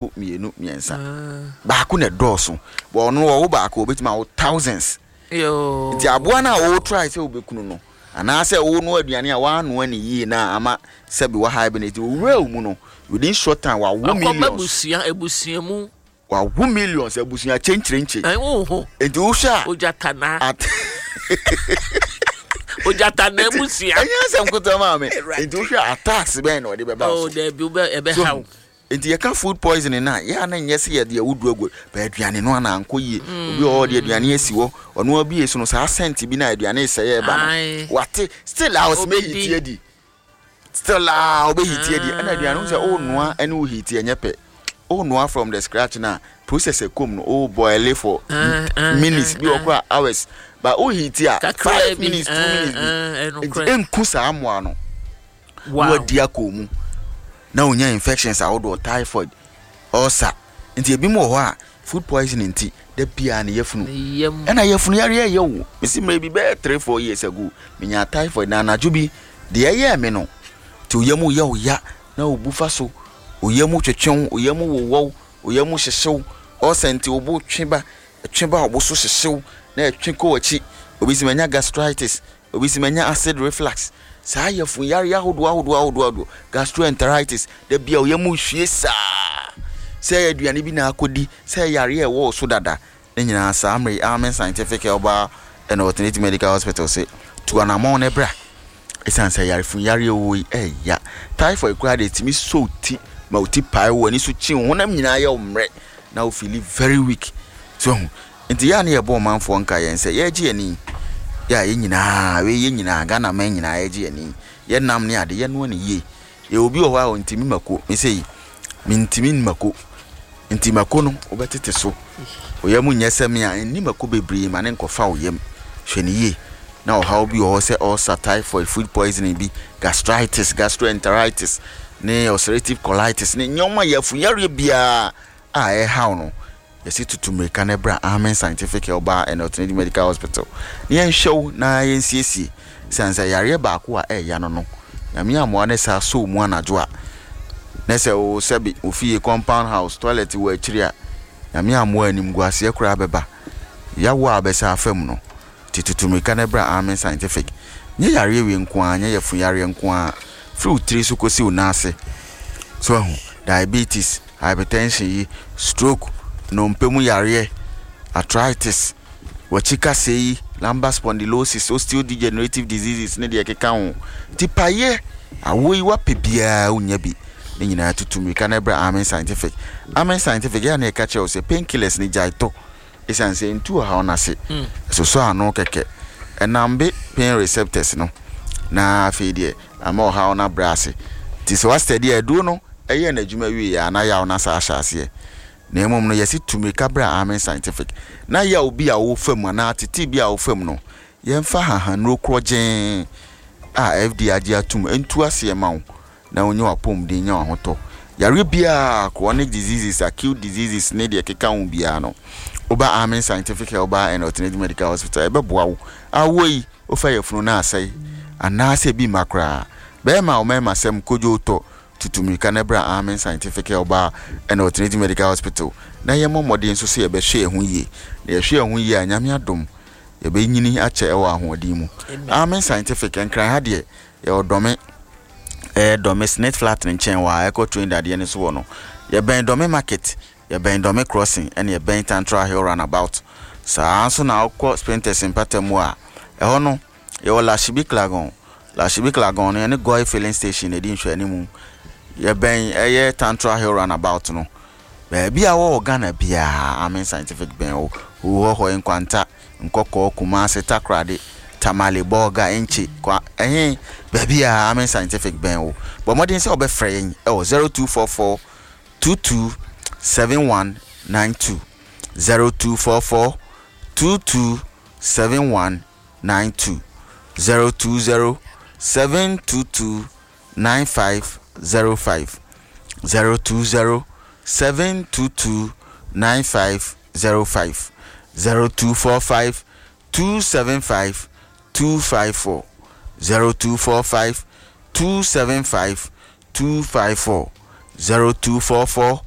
Mmienu, mmiɛnsa. Baako na ɛdɔɔso. But ɔno ɔwo baako obetumi awo thousands. Nti aboa no a wo try sɛ wobɛkunu no anaasɛ wonoa aduane a woanoa ne yie na ama sɛbi wa hibernate owura wo mu no, within short time wawo millions. Akɔba abusua abusua mu. Wawo millions abusua kyenkyerenkye. Nti wohwɛ a. Ogyatana. At Ogyatana abusua. Ɛnyɛ asɛm ketewa maame. Nti wohwɛ a attacks bɛn na ɔde bɛba wo so. Oh dabi ɛbɛha wo. Nti yɛka food poisoning no a, yɛ a na nyɛ sɛ yɛde awuduru agu, but aduane no ana ankɔ yie. Obi wɔ hɔ ɔde aduane asi hɔ, ɔno abue so no saa scent bi na aduane resɛe ɛreba no, wate, still a ɔsɛ mɛ heat adi. Still a ɔbɛ heat adi. Ɛna aduane ho sɛ ɔrenoa ɛne wo heat ɛnyɛ pɛ. Ɔrenoa from the scratch na process ɛkɔm no, o boil for minutes bi wɔ koraa hours, but o heat a 5 minutes, 2 minutes bi. Nti ɛnku saa mmoa no. Na wadi akɔ mu na onya infections ahodoɔ, typhoid, ulcer. Nti ebi mu wɔ hɔ a food poisoning nti da biara ne yafunu ɛna yafunu yareɛ ɛyɛ wo. Mesi mmerɛ bi bɛyɛ 3, 4 years ago menya typhoid na anadwo bi deɛ ɛyɛɛ me no, nti oyam yɛ wo ya na obu fa so, oyam twetwew, oyam wowɔw, oyam hyehyew, ulcer nti obo twe ba, twe ba, obo so hyehyew na ɛtwe kɔ w'akyi. Obi si manya gastritis, obi si manya acid reflux, saa yafunu yareɛ ahodoɔ ahodoɔ ahodoɔ ahodoɔ, gastroenteritis, da bia oyam hwie saa sɛ aduane bi na akɔdi, sɛ yareɛ ɛwɔ wo so dada ne nyinaa. Saa mmerɛ yi Amen Scientific Herbal and Alternative Medical Hospital sɛ tu anammɔn ne bra, ɛsiane sɛ yarefunu yareɛ wɔ yi ɛya. Typhoid koraa deɛ, ɛtumi sɔ wo ti ma wo ti pae, wo ani so kyi, wo honam nyinaa yɛ wo mmerɛ na wo feel very weak so ho. Nti yɛ a ne yɛbɔ ɔmanfoɔ nka yɛn sɛ yɛregye yɛn ani yɛ a, yɛn nyinaa wei, yɛn nyinaa Ghana man nyinaa yɛregye yɛn ani, yɛnam ne ade yɛnoa ne yie. Yɛ obi wɔ hɔ a ɔntumi mako, me sɛ yi mentumi mako, nti mako no wobɛtete so wo yam nyɛ sɛ me a nni mako bebree ma ne nkɔfa wo yam. Hwɛ ne yie na ɔhaw bi wɔ hɔ sɛ ulcer, typhoid, food poisoning bi, gastritis, gastroenteritis ne ulcerative colitis ne nneɛma yafunyareɛ biara a ɛhaw no, yɛsi tutu mmirika na bra Amen Scientific Herbal and Alternative Medical Hospital na yɛnhwɛ wo na yɛnsiesie. Siane sɛ yareɛ baako a ɛɛya no, Nyame amoa ne saa sɔ wo mu anadwo a, na sɛ wo sɛbe wo fie compound house toilet wɔ akyiri a, Nyame amoa animguaseɛ koraa bɛba yawo a wobɛsa afa mu no. Nti tutu mmirika na bra Amen Scientific. Nyɛ yareɛ wei nko ara, nyɛ yafunu yareɛ nko ara, firi wo tiri so kɔsi wo nan ase. So ahu, diabetes, hypertension yi, stroke, nnompe mu yareɛ, arthritis, w'akyi kasɛe yi, lumbar spondylosis, osteodegenerative diseases ne deɛ ɛkeka ho. Nti payɛ, awoɔ yi wapɛ biara wonnya bi. Ne nyinaa tutu mmirika na bra Amen Scientific. Amen Scientific, yɛ a na yɛka kyerɛ wo sɛ painkillers no gyae tɔ. Esiane sɛ entu ɔhaw no ase, ɛsosɔ ano kɛkɛ, ɛnambe pain receptors no, na afei deɛ ama ɔhaw no abrɛ ase. Nti sɛ woastɛdi a, aduro no yɛɛ n'adwuma wieeɛ a, na yaw no asan ahyɛ aseɛ. Na mmom no, yɛse tu mmirika bra Amen Scientific, na yaw bi a wofa mu anaa atetee bi a wofa mu no, yɛmfa hahannuro korɔgyenn a FDA agye atom ntu aseɛ ma wo na wonya w'apɔmuden, nya w'ahotɔ. Yareɛ biara, chronic diseases, acute diseases ne deɛ ɛkeka ho biara no, woba Amen Scientific Herbal and Alternative Medical Hospital, ɛbɛboa wo. Awoɔ yi, wofa yafunu na asɛe, anaasɛ ebi mma koraa. Bɛrima a wo mmarima sɛm kodwo tɔ, tutu mmirika na bra Amen Scientific Herbal and Alternative Medical Hospital na yɛmmɔ mmɔden nso sɛ yɛbɛhwɛ yɛn ho yie. Na yɛhwɛ yɛn ho yie a, Nyame adom, yɛbɛnyini akyɛ wɔ ahoɔden mu. Amen Scientific, Nkran ha deɛ, yɛwɔ Dɔme, ɛyɛ Dɔme Snit Flat no nkyɛn wɔ a ɛkɔ train dadeɛ no so wɔ no. Yɛbɛn Dɔme Market, yɛbɛn Dɔme Crossing, ɛna yɛbɛn Tantra Hill Runabout. Saa nso na wokɔ Spintex mpata mu a, ɛhɔ no, yɛwɔ Lashibi Klagon. Lashibi Klagon no, yɛne Goil Filling Station na ɛdi nhwɛanimu. Yɛbɛn ɛyɛ Tantra Hill Runabout no. Baabi a wowɔ wɔ Ghana biara, Amen Scientific bɛn wo. Huhɔhɔe, Nkwanta, Nkɔkɔɔ, Kumasi, Takoradi, Tamale, Bolga, Enchi, Kwa, ɛhe, baabi a Amen Scientific bɛn wo. Bɔ mmɔden sɛ wobɛfrɛ yɛn wɔ 0244 22 7192, 0244 22 7192, 020 722 9505, 020 722 9505, 0245 275 254, 0245 275 254, 0244.